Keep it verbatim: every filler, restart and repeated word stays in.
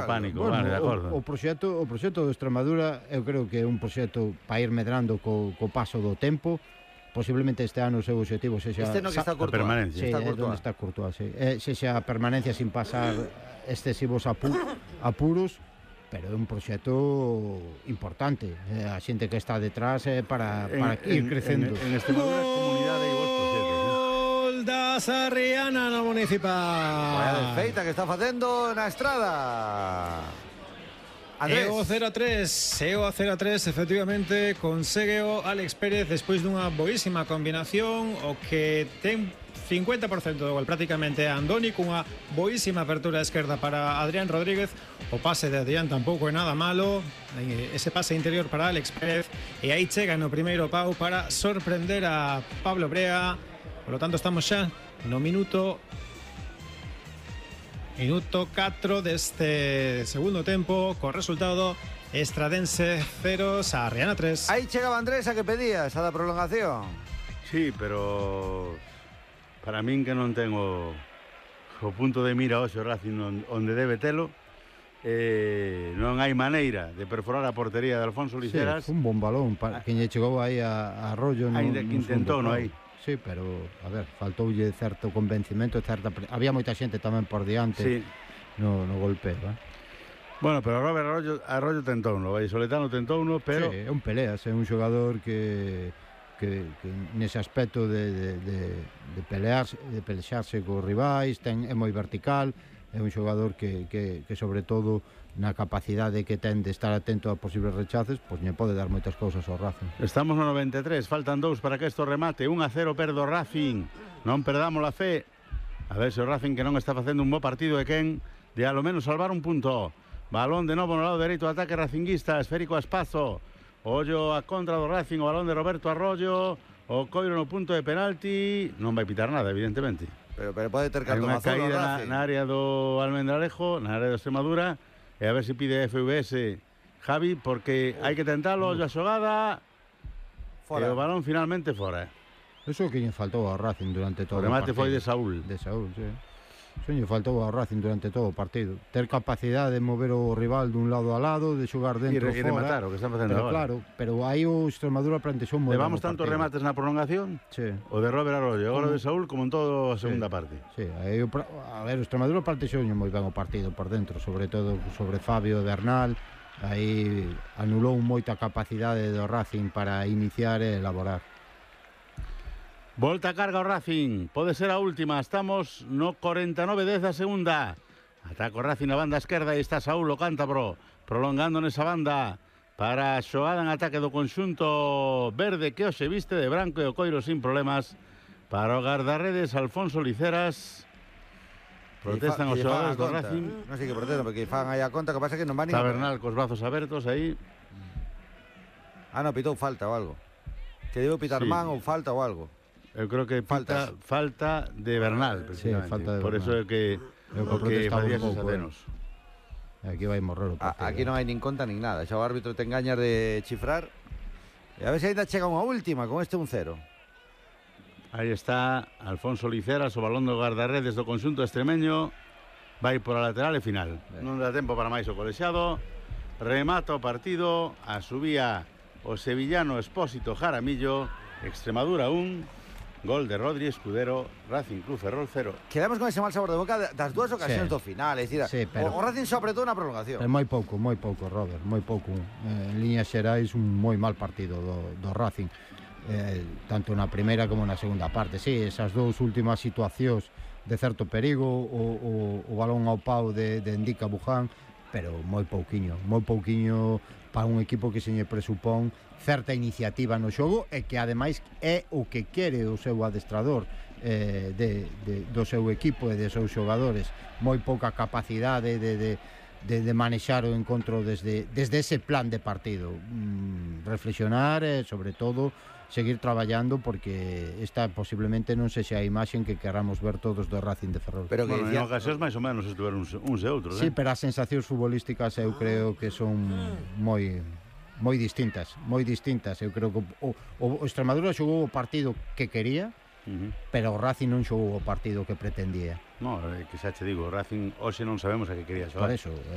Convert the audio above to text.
pánico, bueno, vale, de acordo. O, o proxecto, o proxecto de Extremadura eu creo que é un proxecto para ir medrando co, co paso do tempo. Posiblemente este ano o seu objetivo sexa Este no que está a Courtois. permanencia. Sí, Está é Courtois. onde está Courtois, sí. Eh, sexa a permanencia sin pasar excesivos apu apuros, pero é un proxecto importante. Eh, a xente que está detrás é para, para En- ir en- crecendo. En, en Extremadura, comunidade e vos proxectos. Gol da Sarriana no Vaya Municipal. desfeita que está facendo na estrada. Andrés. E o cero a tres, e o cero a tres efectivamente consegue o Alex Pérez despois dunha boísima combinación, o que ten cincuenta por cento do gol prácticamente a Andoni, cunha boísima apertura a esquerda para Adrián Rodríguez. O pase de Adrián tampouco é nada malo, ese pase interior para Alex Pérez, e aí chega no primeiro pau para sorprender a Pablo Brea. Por lo tanto estamos xa no minuto Minuto catro deste segundo tempo, co resultado Estradense cero, Sarriana tres. Aí chegaba Andrés a que pedía esa da prolongación. Sí, pero para min que non tengo o punto de mira hoxe o Racing onde debe telo, eh, non hai maneira de perforar a portería de Alfonso Liceras. Sí, un bon balón pa, que lle chegou aí a, a Arroyo no, Ainda que no intentou, segundo non pau. hai. Sí, pero, a ver, faltoulle certo convencimento, certa pre... había moita xente tamén por diante, Sí. no, no golpeo, eh? Bueno, pero Robert Arroyo, Arroyo tentouno, o Vallisoletano tentouno, pero Sí, é un peleas, é un xogador que, que, que nese aspecto de, de, de, de pelearse, de pelexarse cos rivais, ten, é moi vertical, é un xogador que, que, que sobre todo na capacidade que ten de estar atento a posibles rechaces, pois lle pode dar moitas cousas ao Racing. estamos no noventa e tres, faltan dous para que isto remate, un a cero perdo o Racing, non perdamos a fe. A ver se o Racing, que non está facendo un bo partido, de quen de alo menos salvar un punto. Balón de novo no lado dereito, ataque racinguista, esférico a espazo, ollo a contra do Racing, o balón de Roberto Arroyo, o coiro no punto de penalti, non vai pitar nada, evidentemente. Pero, pero pode ter Hai cartón unha azul ao caída na, Racing. na área do Almendralejo, na área de Extremadura, e a ver se pide F V S Javi, porque hai que tentalo, ollo a xogada, Fora. e o balón finalmente fora. Eso que lle faltou ao Racing durante todo O remate o partido. foi de Saúl. De Saúl, sí. Eso lle faltou ao Racing durante todo o partido. Ter capacidade de mover o rival dun lado a lado, de xogar E, dentro re, e fora. rematar, o que están facendo Pero agora. claro, pero aí o Extremadura plantexou moi Levamos ben o tantos partido. remates na prolongación, Sí. o de Robert Arroyo, agora o de Saúl, como en toda a segunda Sí. parte. Sí, aí o, pra- a ver, o Extremadura plantexou moi ben o partido por dentro, sobre todo sobre Fabio Bernal. Aí anulou moita capacidade do Racing para iniciar e elaborar. Volta a carga o Racing, pode ser a última, estamos no cuarenta y nueve dez da segunda. Ataca o Racing na banda esquerda e está Saúl o cántabro, prolongando nesa banda para a xogada en ataque do conxunto verde que hoxe viste de branco e o coiro sin problemas para o guardarredes Alfonso Liceras. Protestan os Que lle fan xogadores a do conta. Racing. Non sei que protestan, porque fan aí a conta, que pasa que non van Está Bernal cos brazos abertos aí. Ah, no, pitou falta ou algo. Que debo pitar Sí. man ou falta ou algo. Eu creo que pita, Faltas. falta de Bernal, precisamente. Sí, falta de Por eso é Bernal. que Eu o que protestaba un facía esos pouco, atenos. Aquí vai morrer o A, partido. aquí non hai nin conta nin nada. Xa o árbitro te engañas de chifrar. E a ver se ainda chega unha última con este un cero. Aí está Alfonso Liceras, o balón do guardarredes do conxunto extremeño. Vai por a lateral e final. Non dá tempo para máis o colexiado. Remata o partido. A subía o sevillano Expósito Jaramillo. Extremadura un. Gol de Rodri Escudero. Racing Club Ferrol cero. Quedamos con ese mal sabor de boca das dúas ocasións Sí. do final. É dicir, Sí, pero- o, o Racing só apretou na prolongación. É moi pouco, moi pouco, Robert, moi pouco. Eh, en líneas xerais un moi mal partido do, do Racing, eh, tanto na primeira como na segunda parte. Sí, esas dous últimas situacións de certo perigo, o, o, o balón ao pau de, de Indica Buján, pero moi pouquiño, moi pouquiño para un equipo que se lle presupón certa iniciativa no xogo e que ademais é o que quere o seu adestrador eh, de, de, do seu equipo e de seus xogadores. Moi pouca capacidade de, de, de, de manexar o encontro desde, desde ese plan de partido. Mm, reflexionar e, sobre todo, seguir traballando, porque esta posiblemente non sexa a imaxe que queramos ver todos do Racing de Ferrol. Pero que Bueno, en dicía, ocasións máis ou menos estuveron uns, uns e outros, Sí, eh? pero as sensacións futbolísticas eu creo que son moi moi distintas, moi distintas. Eu creo que o, o, o Extremadura xogou o partido que quería, Uh -huh. pero o Racing non xogou o partido que pretendía. No, eh, que xa che digo, o Racing hoxe non sabemos a que quería xogar. Por eso,